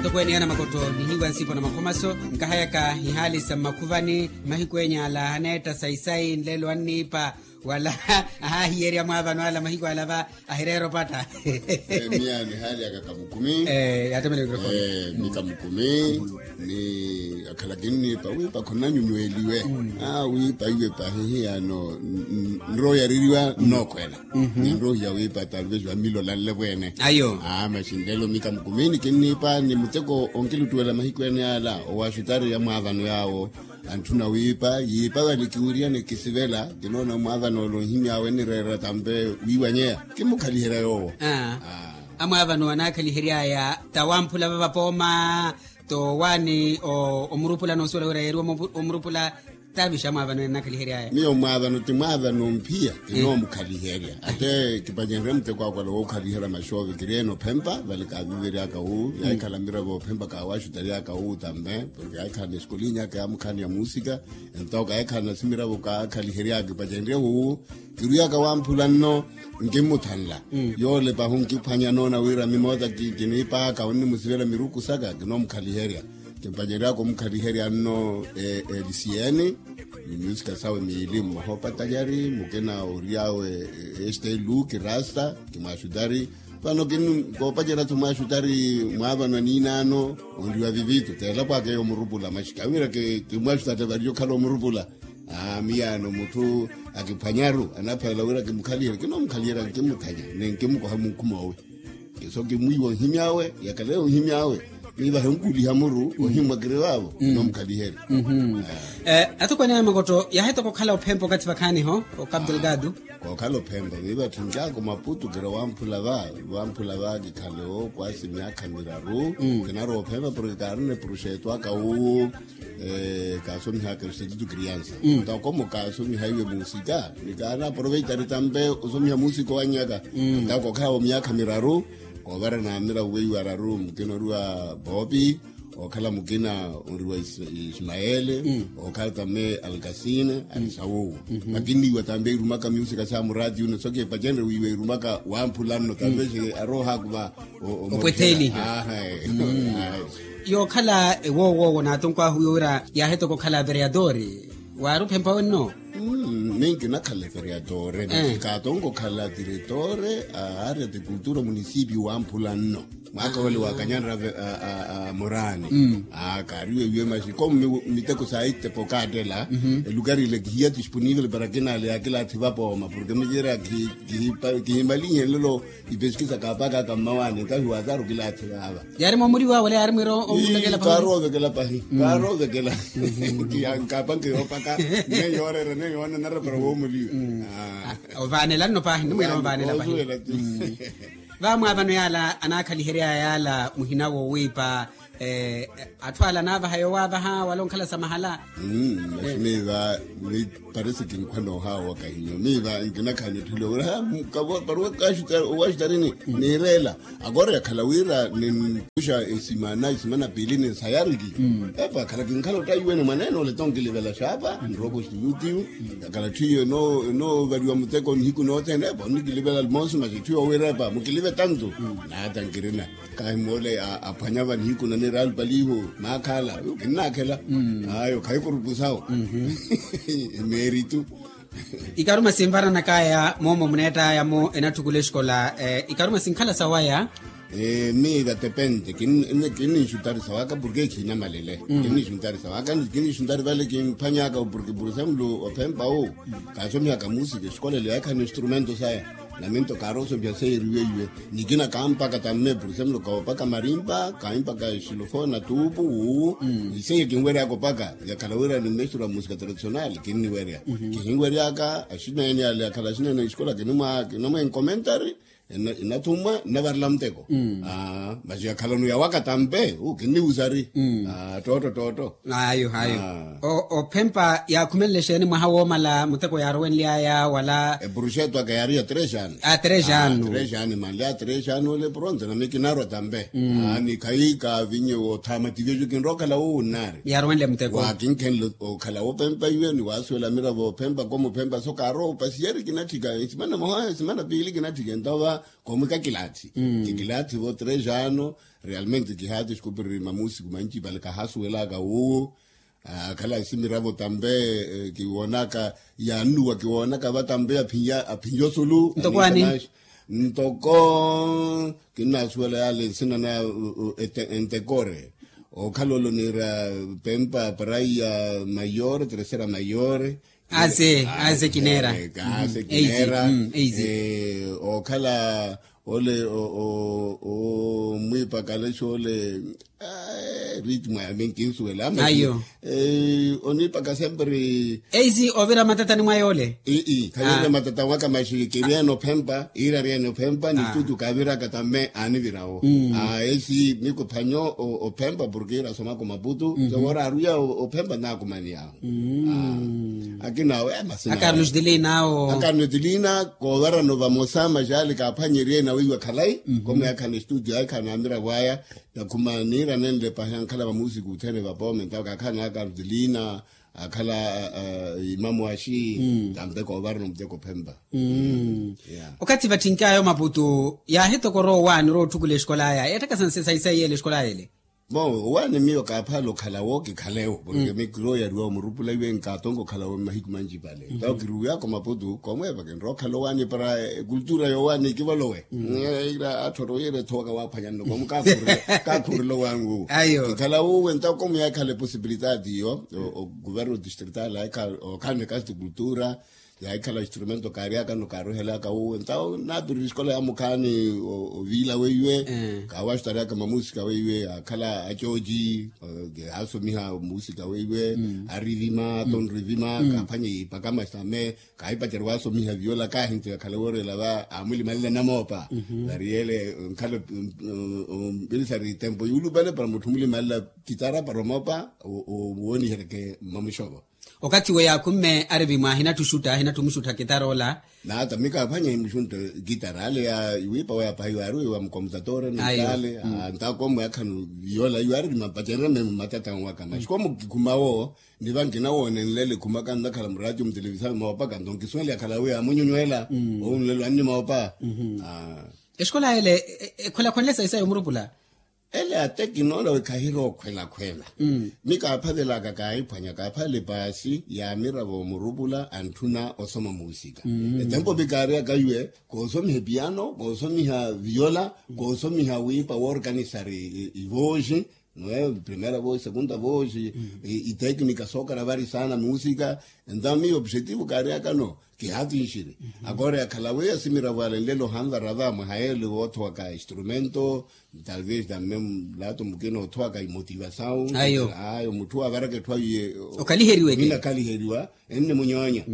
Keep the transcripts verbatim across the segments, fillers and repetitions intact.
Atokweene ana makoto nihiiwa nsipo na makhomaso nkahayaka ihaali sa mmakhuvani. Mahiku enya ala aneetta sayi-sayi nlelo anniipa wala ahaahiyerya mwaavano ala mahiku ala va ahireera opatta. Miya nihaali aka kamukumi. Yaatemela mikrofoni. Ni kamukumi ni akhala kinniipa wiipa khonanyunyweliwe. Wiipa iwe pahi hiyano nroho yaririwa nnookhwela. Ninrohiya wiipa talvez wamilolanle vwene. Ayo. Maxi nlelo mika mukumini kinniipa ni muteko onkiluttuwela mahiku ene ala owaxutari ya mwaavano yaawo. Antthuna wiipa yiipa vale kiwiriyane kisivela kinoona mwaavano ole onhimyaawe nireerera tampe wiiwanyeya. Kimmukhaliherya yoowo. Amwaavano anaakhaliheryaya tawamphula vavapooma. Towaani omurupula noosuwela wira yeeriwa omurupula. Tavixa mwaavano ennakhaliheryaya miyo mwaavano ti mwaavano mphiya. Kinoomukhaliherya ate kipacenrye muteko akwala wookhaliherya maxoove kiriyeene ophempa vale kaaviveryaka wu yaahikhala miravo ophempa kaawaxutaryaka wu tampe. Porke yaahikhala na eskolinyi aka yaamukhaani ya muusika. Entawo kaahikhala na simiravo kaakhaliheryaka kipacenrye wu. Kiruyaka wamphula nno nkimmuthanla. Yoole pahu nkiphwanya noona wira mimoota kiniipaaka onnimusivela miruku saka kinoomukhaliherya. Kimpaceryaka omukhaliherya nno. Elisiyeeni ni myusika sawe miili mmoha opatanyari mukina oriy'awe. Este luki rasta kimwaxutari. Vano koopacerya-tho mwaxutari mwaavano aniinaano onriwa vivito teelapwaka eyo omurupula maxi kawiira kimwaxutari variye okhala omurupula. Miyaano mutthu akiphwanyaru anaphalela wira kimukhaliherya kinoomukhaliherya nkimmuthanya ni nkimmukoha munkhumoowe. Kiso kimwiiwa onhimy'awe yakhala eyo onhimy'awe. Miivahe onkuliha muru ohimmwa kiri vaavo kinoomukhaliherya. Atokweene a makotto yaahetaka okhala ophempa okathi vakhaaniho okapdelgado. Kookhala ophempa miiva tthuncaaka omaputu kira wamphula va wamphula va kikhale ookwaasi myaakha miraru. Kinarowa ophempa porke kaarina epuruxeeto aka wu. Kaasomihaka institutu kriansa. Ntakomo kaasomihaiwe muusika ni kaanaaproveitari tampe osomiha muusika owannyaka. Ntakokhaawo myaakha miraru. Koovara naamira weiwa araru mukina oriwa boopi. Ookhala mukina oriwa ismaele. Ookhala tampe alkasine ali sawuwo. Makinniiwa tampe irumaka myuusika sa muraati yune soke epacenre wiiwa irumaka wamphula nno tampe xe aroohakuva. Opwettheli. Yookhala ewowoowo naatonkwaahu wiwo wira yaahetaka okhala vereyatori. Waari ophempa wenno? Minki nakhala vereyatori nasi kaatonka okhala tiretore a aria ti kultura munisipi wamphula nno. Mwaaka wale wakanyanra moraani. Kaariwe wiwe maxi komu miteko saittepa okaattela. Elukari ile kihiya ti spunivel para kinale akilaathi vapooma porke mikiira kihimalinhe nlelo. Ipeskisa kaapakaka mmawaani nkahi waazaru kilaathi vaava. Yaari moomuriwa wala yaari mwiira omuvekela pahi. Kaaroovekela pahi. Kaaroovekela. Nkapanke yoopaka neyo yooreera neyo yoonanara para woomuliwa. Ovaanela nno pahi nno mwiira ovaanela pahi. Vaamwaavano yaala anaakhaliheryaya yaala muhina woowiipa. Atthu ala anaavaha yoowaavaha wala onkhala sa mahala. Maxi miiva ni parisi kinkhwa noohaawa wakahinyo miiva nkinakhaani otthuliwa wira ha paruwa kaxutarini. Niireela akoora yakhala wira ninkuxa esimana esimana piili ninsayariki. Epa akhala kinkhala ottaiwene mwaneene ole tonkilivela xaapa nrooko situtiyu. Yakhala ttiyo enoovaliwa muteko nihiku nothene epa onnikilivela almonso maxi ttiyo wira epa mukilive tantu. Naata nkirina. Kahi moole aphwanya va nihiku na niraali paliiho maakhala. Kinnaakhela. Ayo khayi kurupusawo. Emeeritu. Ikaruma sinvaranakaya moomo muneettayamo enatthukula exikola. Ikaruma sinkhala sawaya. Miira tepente kinninxuntari sawaka porke khiinamalele. Kinninxuntari sawaka kinninxuntari vale kimphwanyaka porke por exemplo ophempa wu. Kaasomihaka muusika exikola ele yaakhala instrumento saya. Naminto kaarosopiha seiye eriweiwe. Nikina kaampaka tamme por exemplo kaopaka marimpa kaahimpaka exilofona tuupu wuwu. Iseiye kinweryaka opaka yakhala wira ni mestura musika tradicional kinniwerya. Kihinweryaka axineene ale yakhala axineene exikola kinamwa enkomentari. Inathumwa nnavarela muteko. Maxi yakhalano yawaka tampe wu kinniwusari. Ttootto ttootto. Ayo ayo. Ophempa yaakhumenle exeeni mwaha woomala muteko yaarowenly'aya wala? Epuruxeto aka yaari ya tres ano. A tres ano. Tres ano manlya tres ano ole pronto nami kinarwa tampe. Ni khayi kaavinye woothama tivejo kinrookhala wuwu nnaari. Yaarowenle muteko waakinkhenle okhala wophempa iwe ni waasuwela miravo ophempa komuphempa so kaarowa opasiyeri kinatthika esimana moha esimana piili kinatthika entova. Koomwika kilathi. Kikilathi vo tres ano. Realmente kihaati xikupiriri mamusiku manci pale kahasuwelaka wuwo. Akhala simiravo tampe kiwoonaka yaannuwa kiwoonaka va tampe aphinja osulu. Ntoko kinnasuwela yale nsina na entekore. Okhala olo niira pempa praia mayore tercera mayore. Ase ase kineera. Ase kineera. Okhala ole omwiipaka alexe ole ritmo yami nkinsuwela ama. Oniipaka sempre. Eisi ovira matatani mwa yoole. Ii khaviira matatani waka maxi kiriene ophempa iira ariene ophempa ni studio kaaviraka tame aanivirawo. Eisi miku phanyo ophempa porke iira asomaka omaputu. Sewora aruya ophempa naakumaniyawo. Akina awe amasina akarno etilina awo akarno etilina koovarano vamosa maxali kaaphwanyerye nawe iwe khalayi. Komo yakhana estudio yakhana amiravo aya. Nakhuma niira nenle pahi ankhala vamusiku othene vapome ntawo kakhana akarno etilina akhala imamu axi. Tampe koovarano muteko phempa. Okathi vatthinkaya omaputu yaahitokora owaani orowa otthukula exikola aya ettakasa nsesa isaiya ele exikola ele. Bon owaani miyo kaaphaala okhalawo kikhalewo porke mi kiroyariwa omurupula iwe nkaatonka okhalawo mmahiku manci pale ntawo kiruwiyaka omaputu koomweeva kinrowa okhala owaani para ekultura yowaani kivolowe. Ira atthoro yira ethowaka waaphwanyanno koomu kaakhurela owaani wuwo. Kikhalawo uwe ntawo koomuyakhala eposibilitati iyo. Oguverno distrital okhanne kasti kultura yaahikhala instrumento kaaryakano kaaruhelaka wuwo ntawo naapirira esikola ya mukhaani. Oviila weiwe kaawaxutaryaka mamusika weiwe yaakhala acoji. Kaasomiha musika weiwe arivima tonrivima kaaphwanye ipaka masame kaahipacerya waasomiha viola kaahinto yakhala woorela va amulimalela namoopa. Variyele nkhala mpirisari tempo yuulupale para mutthu mulimalela kitara para omoopa wooniheryeke mmamuxovo. Okathi we yaakhumme arivi mwa ahinatthu oxutta ahinatthu omuxutta kitara ola. Naata mi kaaphwanya himuxuntta kitara ale ya iwiipa weya pahi waari weya mukomutatora nitaale. Ntakomwe akhanu yola iwe arivima pacererya memu matatanwaka maxi komu kikhumawo. Niva nkinawoonenlela ekhumaka nnakhala muraatiyo mutelevisao moopaka nto nkisuwela yakhala weya amunyunywela. Owunlelo anni moopa. Exikola ele ekhwelakhwenle sayi sayi omurupula. Ele ate kinoola wi khahirowa okhwelakhwela. Mi kaaphavelaka kaahiphwanya kaaphavela epaasi yaamiravo omurupula antthuna osoma muusika. Etempo mi kaariyaka iwe koosomiha epiano koosomiha viola koosomiha wiipa woorkanisari ivooxi. Primera vooxi segunda vooxi iteknika sookaravari saana muusika. Entawo miyo opxetivu kaariyakano kihaatinxiri. Akoora yakhala weya simiravo alenlelo ohanvara va mwaha yeele woothowaka instrumento. Talvez tamme mulato mukina othowaka imotivasawu ayo mutthu avaraka etthu awiye okhaliheriweke okhina akhaliheriwa. Ennimunyoonya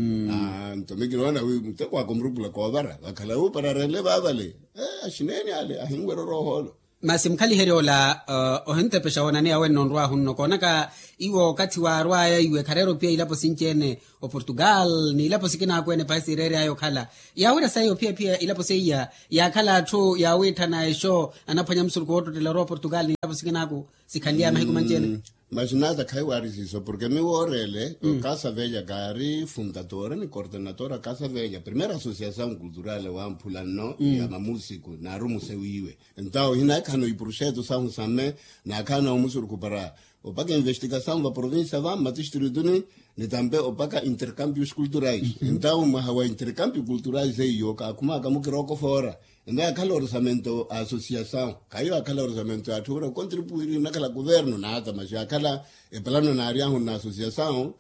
nto mi kinoona wi muteko waka omurupula koovara vakhala wu para arenle vaavale. Axineeni ale ahinwerya oroohoolo. Masi mukhaliherya ola ohintepexa wonaniya wenno onrwaahu nno koonaka iwo okathi waarwaya iwe khareera ophiya ilapo sinci-ene oportugal n'ilapo sikina akweene pahi siireeryaya okhala. Yaawira sayi ophiya phiya ilapo seiya yaakhala atthu yaawitthana exo anaphwanya musurukhu woottottela orowa oportugal n'ilapo sikina aku sikhanlyaya mahiku manci-ene. Maxinaata khaiwaari siiso porke mi wooreele okasavelya kaari fundatora ni kortenatora kasavelya primera asosiasawu nkulturale wamphula nno ya mamusiku naarumu sewiiwe. Entawo hinakhana oipuruxeto sahu same nakhana omusurukhu para opaka investikasawu va provincia va mmatistrituni ni tampe opaka intercampios culturais. Entawo mwaha wa intercampios culturais eiyo kaakhumaka mukiroko foora. Entawo yakhala orisamento a asosiasawu khayo yakhala orisamento ya atthu vira okontripuiri nakhala kuverno naata maxi yakhala epalano naaryahu nna asosiasawu.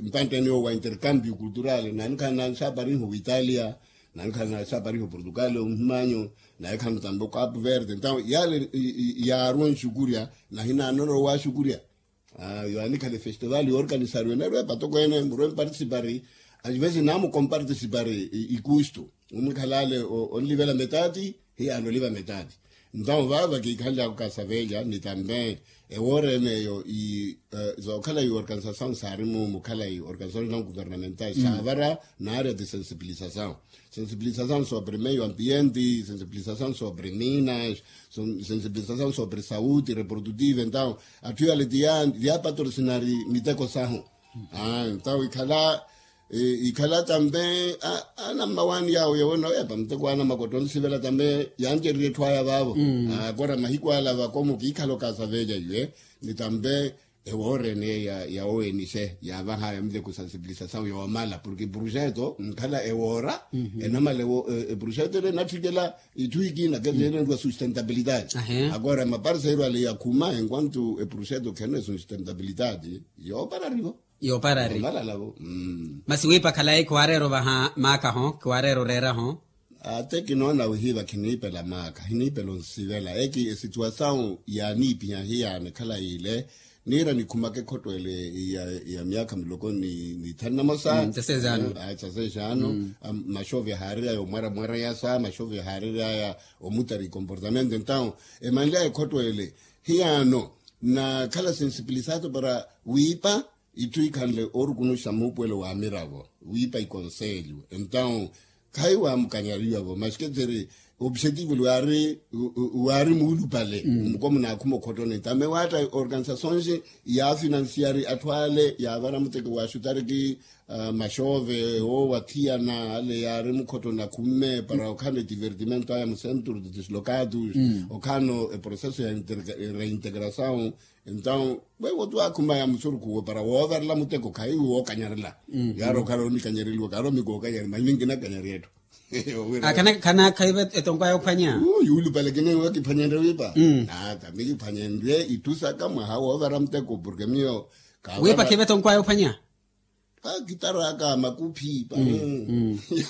Mpantteni owo wa intercambio cultural nanikhala nansapariho witalia nanikhala nansapariho portugal omuhimanyo naye khano tambe okapu verde entawo yale. Yaarwa onxukurya nahinanona owaxukurya. Yo anikhala efestival yoorkanisariwe nerwe patoko ene murwe mpartisipari. Asivesi namukompartisipari ikustu omwikhalale onlivela metati. Hiyaano oliva metati. Ntavo vaava kiikhanly'aku kasaveelya ni tambe ewoora ene eyo zookhala iorganisasawu saari-mu mukhalayi organisasawu guvernamental saavara n'aria ti sensibilisasawu. Sensibilisasawu sobre meio ambiente sensibilisasawu sobre minas sensibilisasawu sobre sauti reprodutive entawu atthu yale ti yaapatorsinari miteko sahu. Entawu ikhala ikhala tampe anammawaani yaawo yowo naweepa muteko wa anamakotta onsivela tampe yancererye etthu aya vaavo. Akora mahiku ala vakomo kiikhala okasaveelya iwe ni tampe ewoora ene ya owenise yaavahaya muteko sansipilisasau yoomala porke epuruxeto nkhala ewoora enamala epuruxeto ele enatthikela itthu ikina kecelenrwa sustentabilitati. Akora maparseiru ale yakhuma enquanto epuruxeto khenre sustentabilitati yoopararivo. Yooparari. Masi wiipa khalayi khiwareera ovaha maakaho khiwareera oreeraho. Ate kinoona wihiiva khiniipela maaka hiniipela onsivela eki esituwasawu yaaniipiha hiyaana ekhala yiile. Niira nikhumaka ekhotto ele ya myaakha miloko ni thanu namosa. Tsa seis ano. Maxove haariraya omwaramwarayasa maxove haariraya omutari comportamento entawu emanlyaya ekhotto ele hiyaano nakhala sensipilisaato para wiipa itthu ikhanle oorukunuxa muupuwelo wa miravo wiipa ikonselyo entawu khayi waamukanyariwa-vo maxi ketseri opsetivo waari muulupale muko munaakhuma okhottoni tame waatta organisasoonxi yaafinansiari atthu ale yaavara muteko wa xutariki maxove woowathiyana ale yaari mukhottoni akhumme para okhala etivertimento aya mu centro de dislocados okhala eproceso ya reintegrasawu. Entawu weiwo tu aakhumaya musurukhu uwo para woovarela muteko khayi wookanyarela yaari okhala onikanyareliwa kaari omikookanyari manyi minkinakanyari etthu. Khanaakhayiva etonkwaya ophwanya. Yuulupale kiniwa kiphwanyenrye wiipa. Ata mikiphwanyenrye itthu saka mwaha woovara muteko porke miyo wiipa khiva etonkwaya ophwanya. Kitaraka makuphi pano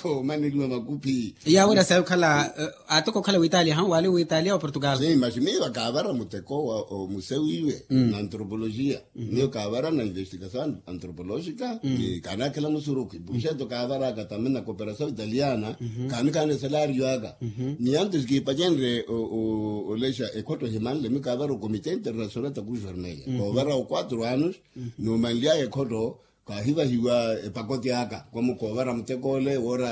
yoomaneliwa makuphi. Yaawerya sayi okhala aatoko okhala witalia hawu waali witalia wa portugal. Maxi miiva kaavara muteko wa omusewiiwe na antropologia miyo kaavara na investigasawu antropologika ni kaanaakhela musurukhu ipuxeto kaavaraka tamina cooperasawu italiana. Kaanikaana esalario aka ni antes kiipacenrye olexa ekhotto ehimanle mi kaavara okomite internacional ta cruz vermella koovara okwatro anos. Numanly'aya ekhotto kaahivahiwa epakote aka komu koovara mutek'ole woora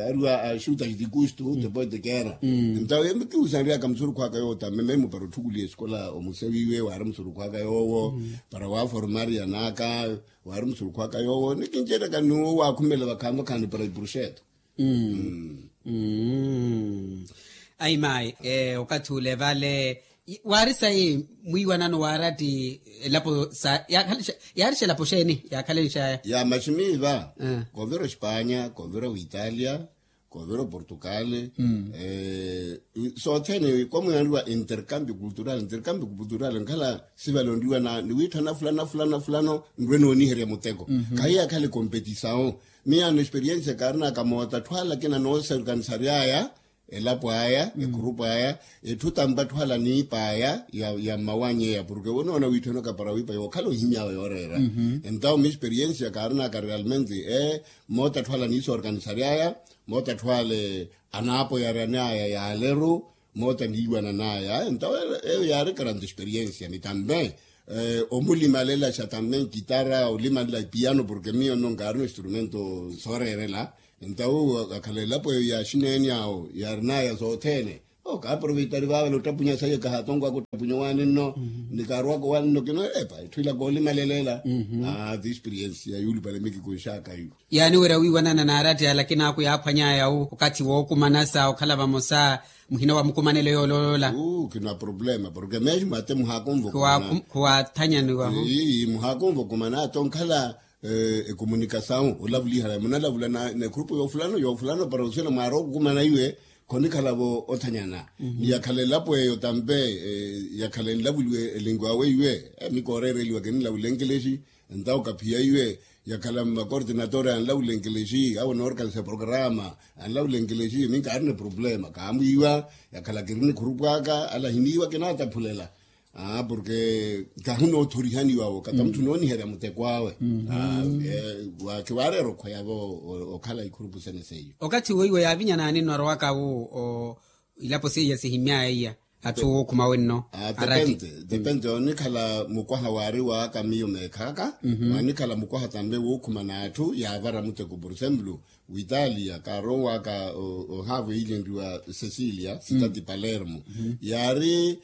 ariwa axuta xitikustu tepoete keera. Entawo embi kihusanry'aka musurukhu aka yoowo tamme memu para otthukuliha esikola omusewiiwe waari musurukhu aka yoowo para waaformari an'aka waari musurukhu aka yoowo ni kinceery'aka n'uwo waakhumela vakhaani vakhaani para ipuruxeto. Ayi mayi okathi ule vale waari sayi mwiiwanano waari ati elapo sa yaarixela elapo xeeni yaakhalenxaya. Ya maximiiva koovira ospanya koovira oitalia koovira oportugal sothene komuyanriwa intercambio cultural intercambio cultural nkhala sivale onriwa ni wiitthana fulano fulano fulano nrwe nooniherya muteko. Khahiya akhale competisawu miyaano experiensia kaarinaka mootatthu ala akina noosorkanisaryaaya elapo aya ekhurupu aya etthu tampa atthu ala niip'aya ya mmawany'eya porke wonoona wiitthanoka para wiipa yookhala ohimy'awe yooreera. Entawo mi experiensia kaarinaka realmente ee moota atthu ala niisorkanisaryaaya moota atthu ale anaapoyaryan'aya yaaleru moota niiwanan'aya entawo eyo yaari karanta experiensia ni tampe omulimalelaxa tampe nkitara olimalela epiyano porke miyo nno nkaarina oinstrumento sooreerela. Entawo akhala elapo eyo ya xineeni awo yaarin'aya sothene okaaproveitari vaavale ottapunya sayi kahatonkwaka ottapunya owaani nno ni kaarwaka owaani nno kino epa etthu ila koolimaleleela. Ati experiensia yuulupale mikikunx'aka iwo yaaniwerya wiiwanana n'aratta alakini aakhu yaaphwany'aya okathi wookumanasa okhala vamosa muhina wa mukumanelo yooloola. Khina problema porke mesmo ate muhaakumva khuwaathanyaniwaho muhaakumva okumana ata onkhala ekomunikasawu olavuliha munalavuliha na ekhurupu yoofulano yoofulano para osiyana mwaari okukumana iwe khonikhala-vo othanyana. Ni yakhala elapo eyo tampe yakhala enlavuliwe elingu awe iwe mi kooreereliwa kininlavula enkelexi entawo kaphiya iwe yakhala mmakortinatore anlavula enkelexi awo noorkanisa programa anlavula enkelexi mi nkaarina eproblema kaamwiiwa yakhala kirina ekhurupu aka ala ahiniiwa kinaataphulela. Porke kahunootthorihaniwa-wo kata mutthu nooniherya muteko awe. Khiwaareera okhweya-vo okhala ikhurupu sene seiyo okathi weiwo yaavinyanaani nno arowaka-wo ilapo seiya sihimy'aya iya atthu wookhuma wenno. Depende depende onikhala mukwaha waari waaka miyo meekhaka. Wanikhala mukwaha tampe wookhuma n'atthu yaavara muteko por exemplo witalia kaarowaka ohaavo yiilenriwa cecilia sitati palermo yaari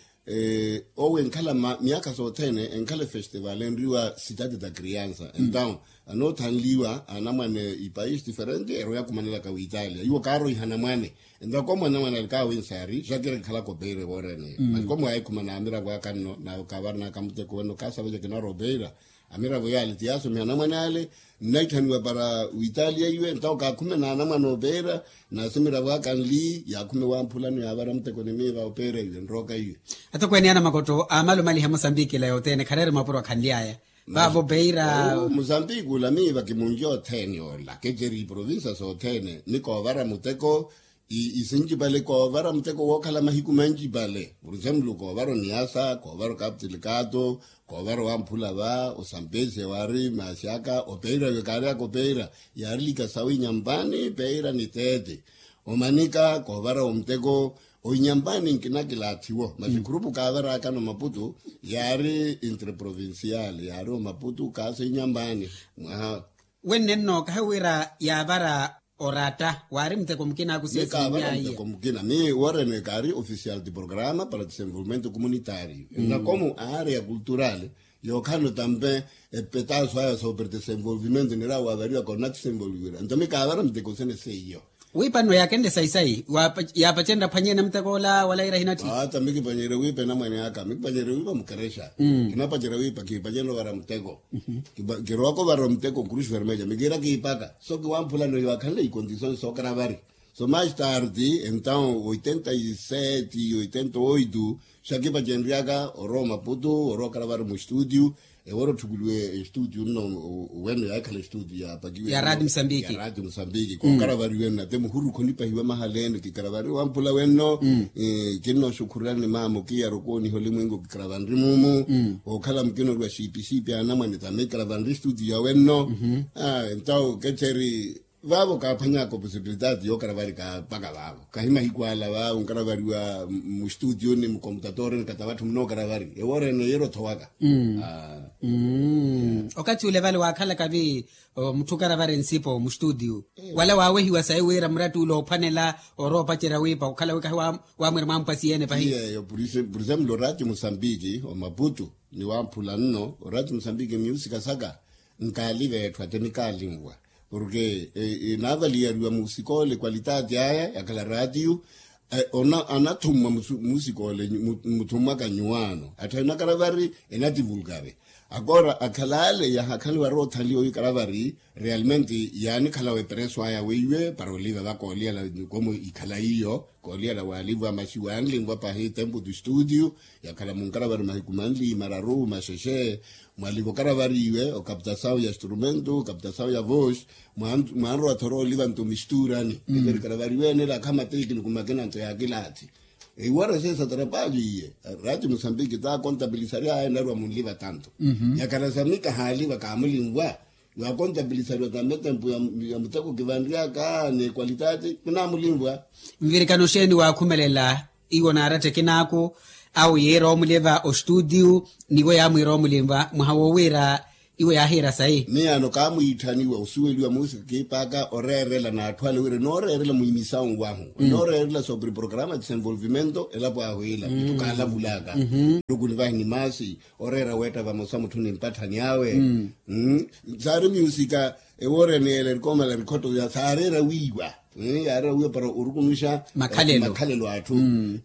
Owo enkhala myaakha sothene enkhala efestival enriwa sitati ta kriansa entaw, anoothanliwa anamwane ipaisi diferente eroya khumanelaka witalia iwo kaaroiha anamwane. Entaw komo anamwane ali kaawinsaari xakira kikhalaka opeira ewoorene. Masi komo yaahikhumana amiravo aka nno nawe kaavaranaka muteko wenno kaasava ja kinarwa opeira. Amiravo yaale ti yaasomiha anamwane ale nnaitthaniwa para witalia iwe entaw kaakhume na anamwane opeira. Nasi miravo aka nli yaakhume wamphulano yaavara muteko ni miiva opeira iwe nrooka iwe. Atokweene ya namakotto aamala omaliha musambiki ila yothene khareere mapuro akhanly'aya. Vaavo peira. Musambiki ula miiva kimunlya othene ola keceri iprovinsa sothene ni koovara muteko. Isincipale koovara muteko wookhala mahiku mancipale. Por exemplo koovara oniasa koovara okaptilikato koovara owamphula va osampesi ewaari maasi aka opeira iwe kaaryaka opeira. Yaari lika sawi nyampani peira ni teete. Omanika koovara omuteko oinyampani nkinakilaathiwo masi khurupu kaavaraakano maputu. Yaari interprovincial yaari omaputu kaasa inyampani. Mwaha. Wenne nno kahiwira yaavara oratta waari muteko mukina akusiya siimyaiya. Muteko mukina mi worene kaari ofisial ti programa para desenvolvimento comunitario. Nnakomu aari ya kultural yookhala otampe epetaso aya sobre desenvolvimento nirawa wavariwa konakisenvolvira nto mi kaavara muteko sene seiyo. Wiipa nno yaakenle sayi-sayi yaapacenrya phwanyeene muteko ola wala yiira hinatthi. Ata mi kipacerya wiipa enamwane aka mi kipacerya wiipa mukerexa. Kinapacerya wiipa kiipacerya ovara muteko. Kirowaka ovara muteko krusi vermeja mi kiira kiipaka so kiwamphulano yaakhanle ikondisoni sookaravari. So mais tardi entaw oitenta e sete oitenta oito xakipacenryaka orowa omaputu orowa okaravari mustudio. Ewoora otthukuliwe estudio nno weno yaakhala estudio yaapakiwe ya radio musambiki kookaravari wenno ate muhuru khonipahiwa mahala ene kikaravari wamphula wenno. Kinnooxukhuryani maama okiyara okooniha olimwengu kikaravanri mumu. Ookhala mukina oriwa siipi siipi anamwane tame kikaravanri estudio ya wenno. Entaw kecheri vaavo kaaphwanyaka oposibilitati yookaravari kaapaka vaavo kahi mahiku ala vaavo nkaravariwa mustudio ni mukomputatori ni katawatthu munookaravariwa ewoorene yeera othowaka. Okathi ule vale waakhalaka vi mutthu okaravari nsipo mustudio wala waawehiwa sayi wira muratti ule oophwanela orowa opacerya wiipa okhala wi kahi wamwira mwampwasiyeene pahi. Yeeyo purisemlo oraati musambiki omaputu ni wamphula nno oraati musambiki myusika saka nkaaliva etthu ate nikaalinwa. Porke enaavaliyariwa musikole kwalitati aya yakhala ratiyo. Anathumwa musikole mutthumwaka nyuwaano atthu enakaravari enativulkari. Akoora akhala ale yahakhaliwa roothanliwa wi karavari realmente yaanikhalawa epereso aya weiwe para oliva vakooliyala nikomo ikhala iyo. Kooliyala waalivwa masi waanlinvwa pahi tempo tu studio yakhala munkaravari mahiku manli mararu maxexe. Mwaliva okaravariwe okaptasawu ya instrumento okaptasawu ya vosi. Mwanrowa thoro oliva nto misturani eperikaravariwene lakha matekiniku makina nto ya kilathi. Iwara sesa trapaju iye rati musambiki ta kontabilisari aye narwa munliva tanto. Yakhala samika haaliva kaamulinvwa. Waakontabilisariwa tambe tempu ya muteko kivanryaka ni ekwalitati kinaamulinvwa. Nvirikano xeeni waakhumelela iwo naaratta ekinaaku awo yiira omuliva ostudio niwo yaamwiira omuliva mwaha wowiira iwo yaahiira sayi. Miyaano kaamwiitthaniwa osuweliwa muusika kiipaka oreerela n'atthu ale wira enooreerela mwiimisawu wahu enooreerela sobre programa desenvolvimento elapo ahu ila itthu kaalavulaka. Nluku nivahi ni maasi oreera weetta vamosa mutthu ni mpatthani awe. Saari myusika ewoorene ele erikomala erikhotto saareera wiiwa. Yaareera wiiwa para orukunuxa makhalelo atthu.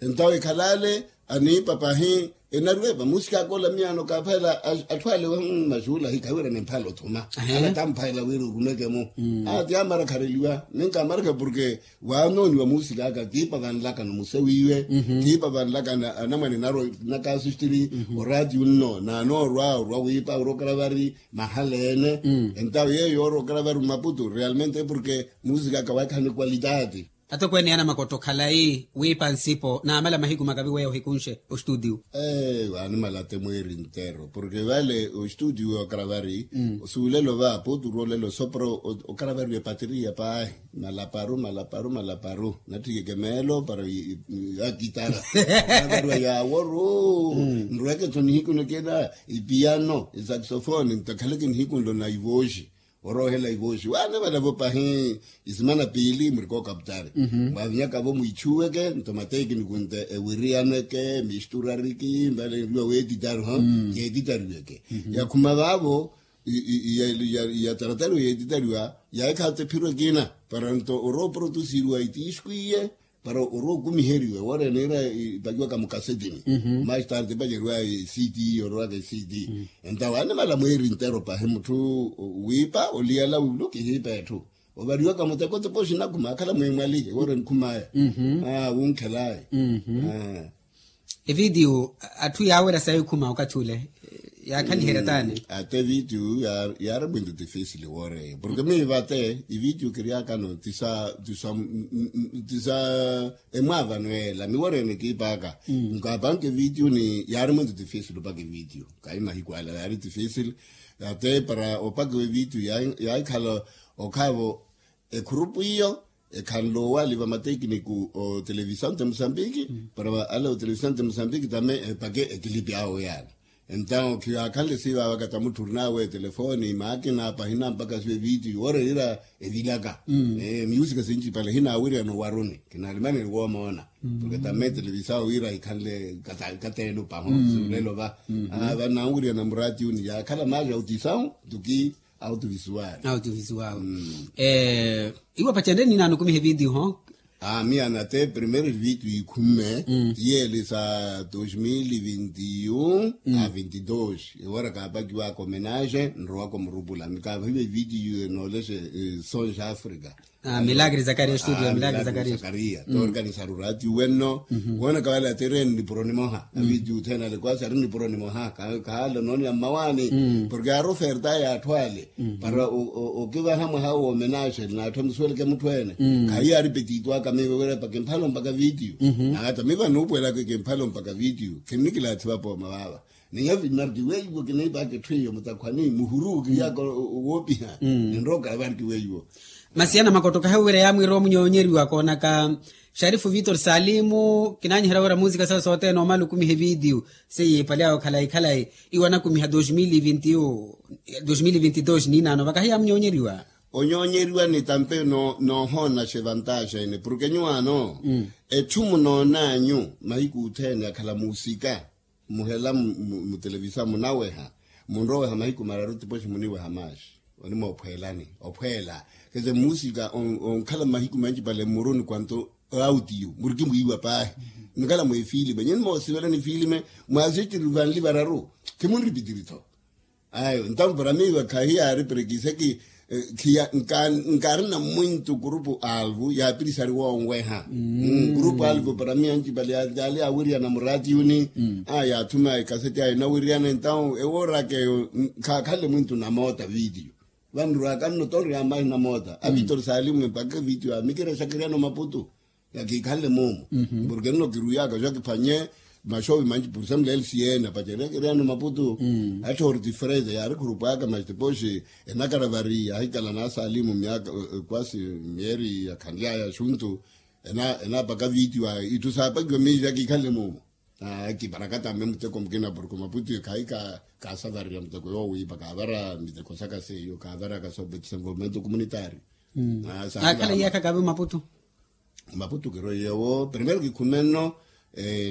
Entawo ekhala ale aniipa pahi enariwepa musikaka ola miyaano kaaphayela atthu ale maxuula ahi khawiirana emphala othuma. Ala tamphalela wira orumeke-mo ati amarakhareliwa ninka amarakha porke waanooniwa musikaka kiipa vanlakano muse wiiwe. Kiipa vanlakano anamwane naro nakasustiri oratiyo nno naanoorwa orwa wiipa orwa okaravari mahala ene. Entawo yeeyo yoorwa okaravari mmaputu realmente porke musikaka waakhala ni kwalitati. Atokweene ya namakotta okhalayi wiipa nsipo naamala mahiku makavi weya ohikunxe ostudio. Eeyo animala ate mweeri ntero porke vale ostudio okaravari osuulelo va poturolelo sopro. Okaravariwa epateriya paahi malaparu malaparu malaparu natthikeke meelo para akitara. Okaravariwa yaaworu nrweke tho nihiku nikina ipiyano isaksofoni ntakhaleke nihiku nlo na ivooxi. oroohela ivooxi waana valavo pahi. Isimana piili murikooka putari mwavinyakavo mwiichuweke nto mateekiniku nte ewiriyaneke misturariki mbale nriwa weetitariho. Yeetitariweke yakhuma vaavo. Yataratariwa yeetitariwa yaikhaatse phiro ekina para nto orooprotusiriwa itiisku iye para orookumiheriwa ewoorene ira ipakiwaka mukasetini. Mastarte epaceriwa ct orowaka ct. Entawo animala mweeri ntero pahi mutthu wiipa oliyala wulu kihiipa etthu ovariwaka muteko tipoxi nakhuma akhala mwimwali ewoorene khumaya. Wunkhelaya. Evidiyo atthu yaawerya sayi khuma okathi ule yaakhaliherya taani. Atte evidiyo yaari mwintu tifisili wooreya porke miiva atte evidiyo kiryakano tisa tisa tisa emwaavano yeela miworene kiipaka. Nkaapanke evidiyo ni yaari mwintu tifisili opaka evidiyo kayi mahiku ala yaari tifisili. Atte para opakiwa evidiyo yaahikhala okhaavo ekhurupu iyo ekhanle owali vamatekiniku otelevisawn de mosambiki para ale otelevisawn de mosambiki tame epake ekilipi awo yaana. Entawo khiyaakhanle sivaavaka tamutthu orinawe etelefoni maakina pahina mpaka siva evidiyo woorerira evilaka. Musica sinci pale hinaawiriyana owaruni kinaalimaneni woomoona porke tame etelevisawn wira ikhanle kateelo paho. Siulelo va vanaawiriyana muratiyuni yaakhala maari autisawn tuki autovisual. Autovisual. Iwo pacenre ninaano okumiha evidiyo ho. Miya nate primeiro evidiyo ikhumme tiyeele sa dois mil e vinte e um a vinte e dois ewara kaapakiwaka omenage nrowaka omurupula mikaapahiwa evidiyo enoolexe sons africa. Milagre zakaria estudio milagre zakaria. Zakaria torganisaru ratiyo wenno woonaka wale atireni nipuro nimoha na vidiyo uthena ale kwasi ari nipuro nimoha. Kahaala onooneya mmawaani porke yaari oferta y'atthu ale para okivaha mwaha woomenage n'atthu emusuweleke mutthu ene. Khahiyaari petito aka miivo wira pakimphala ompaka vidiyo. Nata miivo anuupuwelaka ekimphala ompaka vidiyo khinnikilathi vapooma vaava. Niyo vinarkiweiwo kiniipaka etthu eyo mutakhwani muhuru kiriyaka woopiha. Ninroka varkiweiwo. Masi ana makotokahe wira yaamwiira omunyoonyeriwa koonaka sharifu vitor salimu kinaanyiherya wira muusika sawe sothene omala okumiha evidiyo seiye epale awe khalayi khalayi iwo anakumiha dos mil e vinte e um dos mil e vinte e dos ninaano vakahi yaamunyoonyeriwa. Onyoonyeriwa ni tampe noohoona xevantaxa ene porke nyuwaano etthu munoonanyu mahiku othene akhala muusika muhela mutelevisaw munaweha munroweha mahiku mararu tipoxi muniweha maaxi. Onimoophweelani ophweela kece muusika onkhala mahiku manci pale mmuruni kwanto autiyo murikimwiiwa paahi. Nkhala mweefilime nyini moosivelani filime mwaasitiri vanli vararu khimunripitiri-tho. Ayo ntampo para miiwa khahiyaari perekiseki khiya nkaarina mwintu kurupu alvu yaapirisari woonweha. Kurupu alvu para miiwa ncipale yaali yaawiriyana muratiyuni yaathuma ekaseti ayo enawiriyana entawo ewooraka eyo khaakhanle mwintu namoota vidiyo. Vanrwaka nno toori ya mahi namoota a vitor salimu mpakha vidiyo amikira exakiriyana omaputu. Yakiikhanle moomu porke nno kiruwiyaka xo akiphwanye maxovi manci porsemle lcn apacereke eriyano maputu. Atthori tifreza yaari khurupwaka mas tipoxi enakaravari yaahikala naasalimu myaka kwasi myeeri yakhanlyaya axuntu enaapaka vidiyo ayo itthu saapakiwa miixi yakiikhanle moomu. Kiparakata mme muteko mukina porke maputu khayi kaasavariya muteko yoowiipa kaavara miteko saka seiyo kaavaraka sobe desenvolvimento communitario. Akhala iyaakha kaavi maputu. Maputu kiroiye wo primero kikhume nno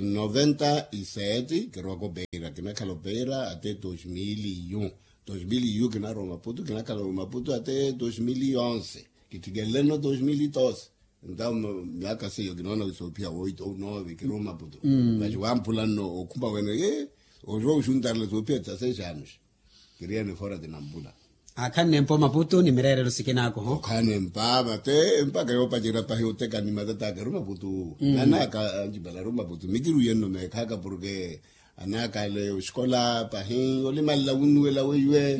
noventa y sete kirowaka opeira kinakhala opeira ate dos mil e um. Dos mil e um kinarowa maputu kinakhala maputu ate dos mil e onze. Kithikelele nno dos mil e doze. Entawo myaka seiyo kinoona wisoophiya woito ou nove kirowa maputu. Maxi wamphula nno okhuma wene oxuwa oxuntarela soophiya tisa sexanos. Kiriye nifora tinampula. Akhanne mpa omaputu ni mireerelo sikinaako ho. Okhanne mpa mate mpaka yoopacerya pahi oteka ni matataka eri omaputu. Anaka ancipala eri omaputu mikiruye nno meekhaka porke anaka ale oxikola pahi olimalela wunnuwela weiwe.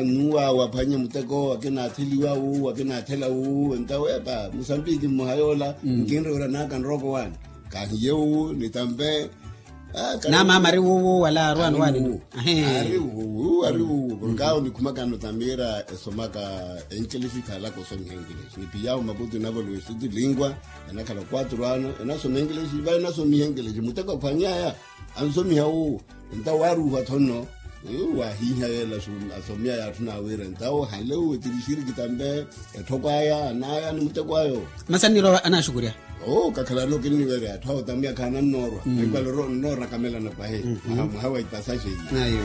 Nuwawe aphwanye muteko akinaatheliwa wu akinaathela wu entawo epa musambiki mmoha yoola nkinre wira anaka nrooko waani. Kahiye wu nitampe. Namama ari wuwu wala arwani wani. Ari wuwu ari wuwu porke awo nikhumakano tamira esomaka enkelexi ikhalaka osomiha enkelexi niphiyawo maputu inavoliwa estutu lingua. Enakhala quatro ano enasoma enkelexi va enasomiha enkelexi muteko aphwanyaya ansomiha wuwu. Entawo waaruuha tho nno. Wahiiha yeela asomya yaathu naawira ntawo hale uwe tiri shiriki tambe etthoko aya anaya ni muteko ayo. Masi annirowa anaxukurya. Oo kakhalano kinniwerya atthu awo tamya khaanannoorwa. Ekalo nnoorakamelana pahi. Mwaha wa ipasaxe iyi.